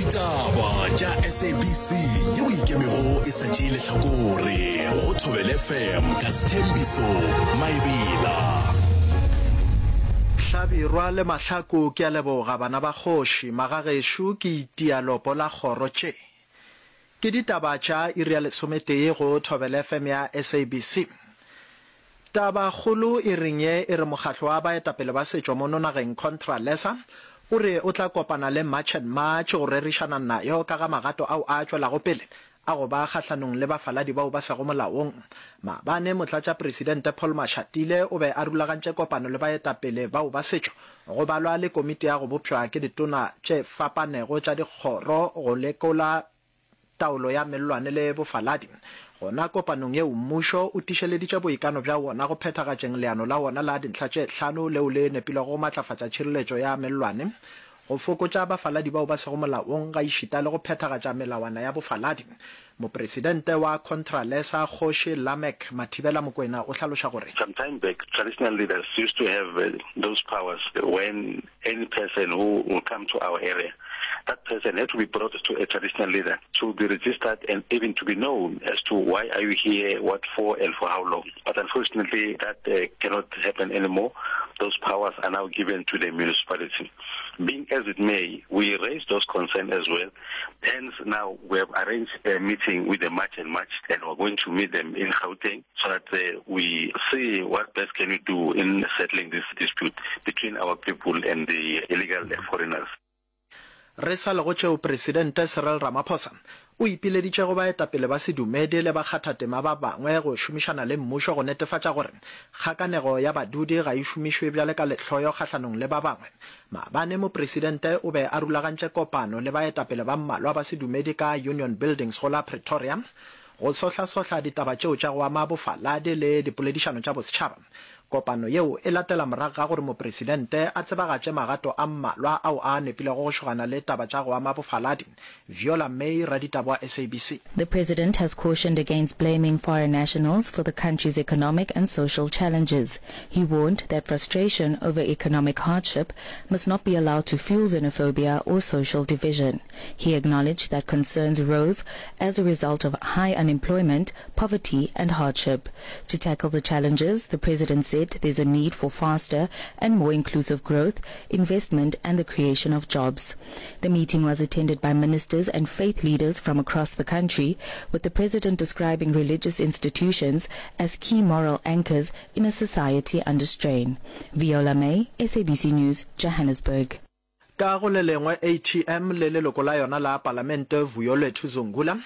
Ditaba tša SABC yeo e ikemego e sa tšee lehlakore go Thobela FM ka Sthembiso Maebela. Hlabirwa le Mahlaku ke a leboga bana ba kgoši, magagešo ke itia lopo la kgoro tše. Ke ditaba tša iri ya lesometee go Thobela FM ya SABC. Taba kgolo e reng ye e re mokgahlo wa baetapele ba setšo mono nageng Contralesa o re o tla kopana le March and March go rerišana nayo ka ga magato ao a tšwelago pele a go ba kgahlanong le bafaladi bao ba sego molaong. Maabane Motlatšapresidente Paul Mashatile o be a rulagantše kopano le baetapele bao ba setšo go balwa le komiti ya go bopšwa ke ditona tše fapanego tša dikgoro go lekola taolo ya mellwane le bofaladi. Gona kopanong yeo, mmušo o tišeleditše boikano bja wona go phethagatšeng leano la wona la dintlha tše hlano leo le nepilego go matlafatša tšhireletšo ya mellwane, go fokotša bafaladi bao ba sego molaong gaešita le go phethagatša melawana ya bofaladi. Mopresidente wa Contralesa, Kgoši Lameck Mathibela Mokwena o hlaloša gore. Some time back, traditional leaders used to have those powers when any person who will come to our area, that person had to be brought to a traditional leader to be registered and even to be known as to why are you here, what for and for how long. But unfortunately that uh, cannot happen anymore. Those powers are now given to the municipality. Being as it may, we raise those concerns as well. Hence now we have arranged a meeting with the March and March and we're going to meet them in Gauteng so that uh, we see what best can we do in settling this dispute between our people and the illegal foreigners. Re sa le go tšeo Presidente Cyril Ramaphosa o ipileditše go baetapele ba sedumedi le bakgathatema ba bangwe go šomišana le mmušo go netefatša gore kgakanego ya badudi ga e šomišwe bjale ka lehloyo kgahlanong le ba bangwe. Maabane Mopresidente o be a rulagantše kopano le baetapele ba mmalwa ba sedumedi ka Union Buildings go la Pretoria go sohlasohla ditaba tšeo tša go ama bofaladi le dipoledišano tša bosetšhaba. Kopano yeo e latela morago ga gore Mopresidente a tsebagatše magato a mmalwa ao a nepilego go šogana le taba tša go ama bofaladi. Viola May, raditaba wa SABC. The president has cautioned against blaming foreign nationals for the country's economic and social challenges. He warned that frustration over economic hardship must not be allowed to fuel xenophobia or social division. He acknowledged that concerns rose as a result of high unemployment, poverty and hardship. To tackle the challenges, the president said there's a need for faster and more inclusive growth, investment and the creation of jobs. The meeting was attended by ministers and faith leaders from across the country, with the president describing religious institutions as key moral anchors in a society under strain. Viola May, SABC News, Johannesburg. Ka go le lengwe, ATM le leloko la yona la Palamente Vuyolwethu Zungula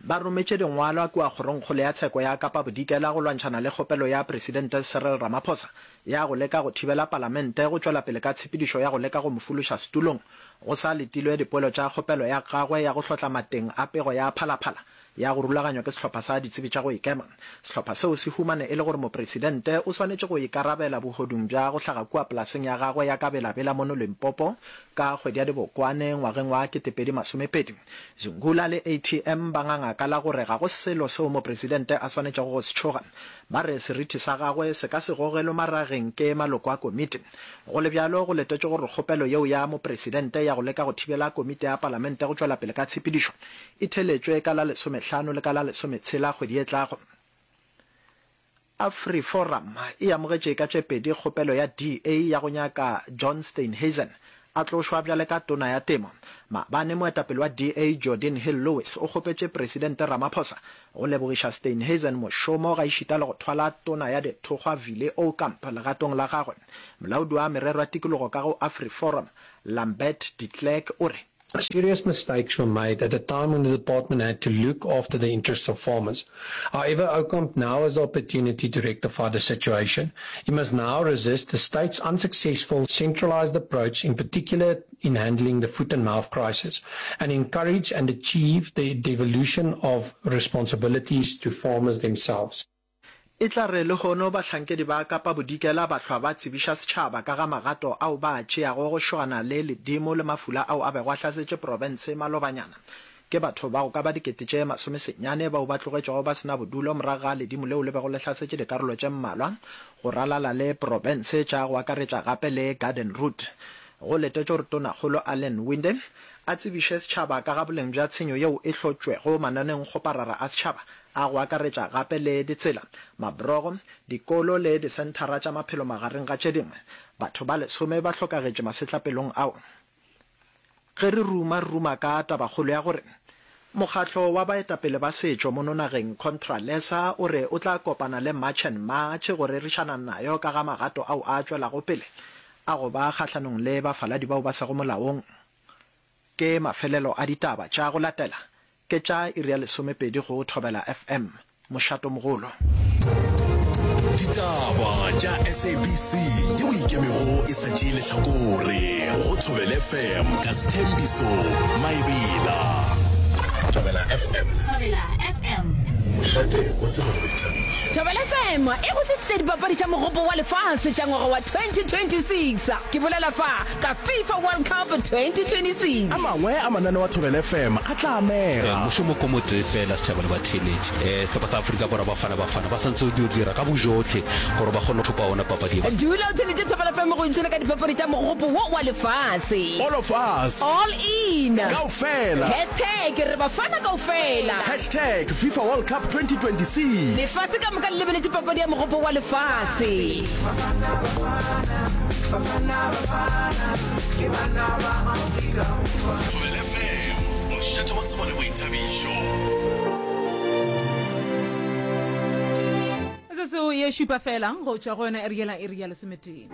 ba rometše dingwalwa kua Kgorongkgolo ya Tsheko ya Kapa Bodikela go lwantšhana le kgopelo ya Presidente Cyril Ramaphosa ya go leka go thibela Palamente go tšwela pele ka tshepedišo ya go leka go mo fološa setulong go sa letilwe dipoelo tša kgopelo ya gagwe ya go hlotla mateng a pego ya Phala Phala ya go rulaganywa ke sehlopha sa ditsebi tša go ikema. Sehlopha seo se humane e le gore mopresidente o swanetše go ikarabela bohodung bja go hlaga kua polaseng ya gagwe ya ka Bela-Bela mono Limpopo ka kgwedi ya Dibokwane ngwageng wa 2020. Zungula le ATM ba nganga ka la gore ga go selo seo mopresidente a swanetšego go se tšhoga. Ba re seriti sa gagwe se ka se gogelwe marageng ke maloko a komiti. Go le bjalo, go letetšwe gore kgopelo yeo ya mopresidente ya go leka go thibela komiti ya palamente go tšwela pele ka tshepedišo e theletšwe ka la lesomehlano le ka la lesometshela kgwedi e tlago. AfriForum e amogetše ka tše pedi kgopelo ya DA ya go nyaka John Steenhuisen a tlošwa bjale ka Tona ya Temo. Maabane moetapele wa DA Geordin Hill-Lewis o kgopetše Presidente Ramaphosa go lebogiša Steenhuisen mošomo gaešita le go thwala Tona ya Dithokgwa Vile Aucamp legatong la gagwe. Molaodi wa merero ya tikologo ka go AfriForum Lambert de Klerk o re, Serious mistakes were made at a time when the department had to look after the interests of farmers. However, Aucamp now has the opportunity to rectify the situation. He must now resist the state's unsuccessful centralized approach, in particular in handling the foot and mouth crisis, and encourage and achieve the devolution of responsibilities to farmers themselves. E tla re lehono bahlankedi ba Kapa Bodikela ba hlwa ba tsebiša setšhaba ka ga magato ao ba a tšeago go šogana le ledimo le mafula ao a bego a hlasetše profense malobanyana. Ke batho ba go ka ba dikete tše masomesenyane bao ba tlogetšego ba se na bodulo morago ga ledimo leo le bego le hlasetše dikarolo tše mmalwa go ralala le profense tša go akaretša gape le Garden Route. Go letetšwe gore Tonakgolo Allan Winde a tsebiše setšhaba ka ga boleng bja tshenyo yeo e hlotšwego mananeongkgoparara a setšhaba a go akaretša gape le ditsela, mabrogo, dikolo le disenthara tša maphelo magareng ga tše dingwe. Batho ba lesome ba hlokagetše masetlapelong ao. Ge re ruma, re ruma ka tabakgolo ya gore mokgatlo wa baetapele ba setšo mono nageng, Contralesa, o re o tla kopana le March and March go rerišana nayo ka ga magato ao a tšwelago pele a go ba kgahlanong le bafaladi bao ba sego molaong. Ke mafelelo a ditaba tša go latela ke tša iri ya lesomepedi go Thobela FM. Mošatomogolo. Ditaba tša SABC yeo e ikemego e sa tšee lehlakore go Thobela FM ka Sthembiso Maebela. Thobela FM. Thobela FM. Mošate wa tsebo le boithabišo. Thobela FM e go tlišitše dipapadi tša Mogopo wa Lefase tša ngwaga wa 2026. Ke bolela fa ka FIFA World Cup 2026. A mangwe a mananeo a Thobela FM a tla amega. Mošomo ko motee fela, setšhaba le batheeletši. Sehlopha sa Afrika Borwa Bafana Bafana ba santse go dira ka bojohle gore ba kgone go thopa ona papadi ye. Dula o theeletše Thobela FM go ipshina ka dipapadi tša mogopo wo wa lefase. All of us. All in. Kaofela. Hashtag re Bafana kaofela. Hashtag FIFA World Cup 2026. Lefase ka moka le lebeletše papadi ya mogopo wa lefase. Bafana, Bafana, Bafana, Bafana, ke bana ba Afrika Borwa. Thobela FM, mošate wa tsebo le boithabišo. Metsotso ye šupa fela go tšwa go yona iri yela iri ya lesometee.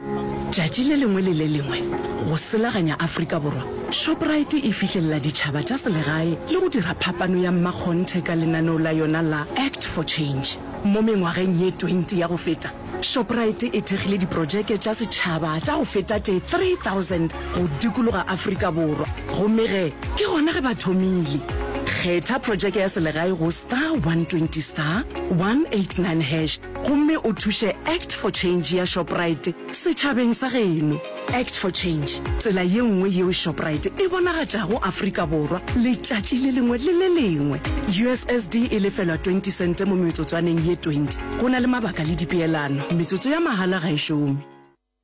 Tšatši le lengwe le le lengwe, go selaganya Afrika Borwa, Shoprite e fihlelela ditšhaba tša selegae le go dira phapano ya mmakgonthe ka lenaneo la yona la Act for Change. Mo mengwageng ye 20 ya go feta, Shoprite e thekgile diprojeke tša setšhaba tša go feta tše 3000 go dikologa Afrika Borwa, gomme ge ke gona ge ba thomile. Kgetha projeke ya selegae go star 120 star 189 hash gomme o thuše Act for Change ya Shoprite setšhabeng sa geno. Act for Change, tsela ye nngwe yeo Shoprite e bonagatšago Afrika Borwa letšatši le lengwe le le lengwe. USSD e lefelwa 20 sente mo metsotswaneng ye 20. Go na le mabaka le dipeelano. Metsotso ya mahala ga e šome.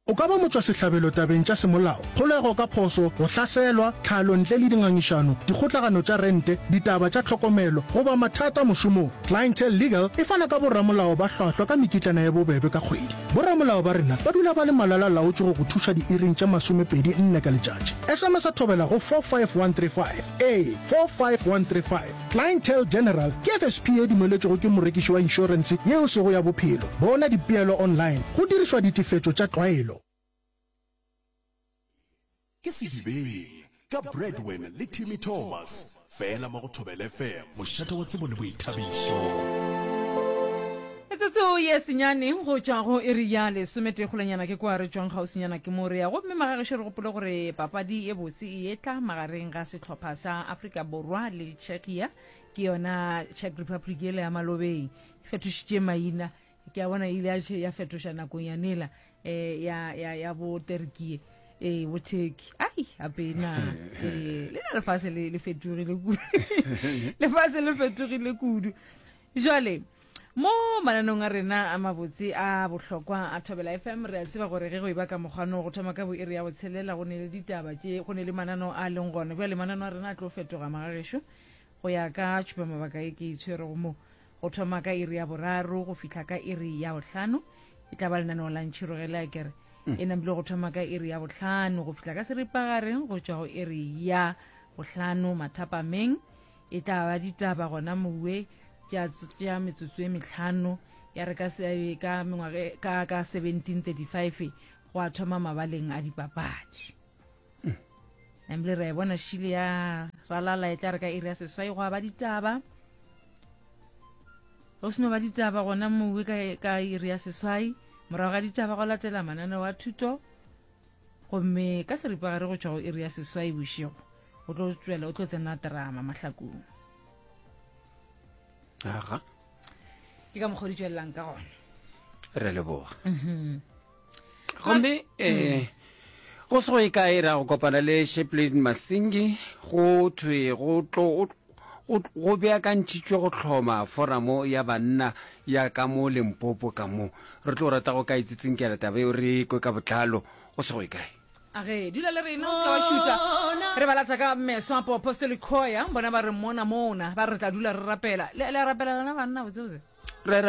O ka ba motšwasehlabelo tabeng tša semolao, kgolego ka phošo, go hlaselwa, tlhalo ntle le dingangišano, dikgotlagano tša rente, ditaba tša tlhokomelo, goba mathata mošomong. Clientele Legal e fana ka boramolao ba hlwahlwa ka mekitlana ye bobebe ka kgwedi. Boramolao ba rena ba dula ba le malala-laotšwe go go thuša diiring tše masomepedi nne ka letšatši. SMS-a thobela go 45135. Ee, 45135. Clientele General ke FSP ye dumeletšwego ke morekiši wa inšorense ye e sego ya bophelo. Bona dipeelo online go dirišwa ditefetšo tša tlwaelo. Ke Sedibeng ka Bradwin le Timmy Thomas, fela mo go Thobela FM, mošate wa tsebo le boithabišo. Metsotso ye senyane go tšwa go iri ya lesometee kgolanyana ke kwa re tšwang kgauswinyana ke mo re ya gomme magagešo re gopole gore papadi ye botse e etla magareng ga sehlopha sa Afrika Borwa le Czechia ke yona Czech Republic yela ya malobeng e fetošitše maina ke a bona e ile ya fetoša nakong ya nela eh, ya, ya, ya bo Turkey ee bo Turkey ai gape na ee le na lefase le le fetogile kudu lefase le fetogile kudu jwale mo mananong a rena a mabotse a bohlokwa a Thobela FM re a tseba gore ge go e ba ka mokgwano go thoma ka bo iri ya botshelela go ne le ditaba tše go ne le mananeo a leng gona bjale mananeo a rena a tlo fetoga magagešo go ya ka tšhupamabaka e ke itshwerego mo Go thoma ka iri ya boraro go fihla ka iri ya bohlano e tla ba lenaneo la ntšhirogele a kere mm. e nambile go thoma ka iri ya bohlano go fihla ka seripagareng go tšwa go iri ya bohlano mathapameng e tla ba ditaba gona mowe tša metsotso e mehlano ya re ka ka mengwaga ka ka 1735 go a thoma mabaleng a dipapadi mm. Ebile re a e bona šile ya ralala e tla re ka iri ya seswai go ba ditaba. Go seno ba ditaba gona mowe ka, ka iri ya seswai morago ga ditaba go latela mananeo a thuto gomme ka seripagare go tšwa go iri ya seswai bošego o tlo tšwela o tlo tsena drama mahlakong aga ke ka mokgwa di tšwelelang ka gona re leboga mm -hmm. gomme um go se go e kae ra go kopana le Chaplain Masingi go thwe go tlo go beakantšhitšwe go hloma foramo ya banna ya ka mo Limpopo ka mo re tlo rata go ka itsitsinkela taba eo re kwe ka botlalo go se go e kae. A ge, dula le rena, o se ka wa šutha. Re ba lata ka meso a Apostolic Choir, bona ba re mona mona, ba re tla dula re rapela. Le, le a rapela lena banna, botsebotse? Re a rapela.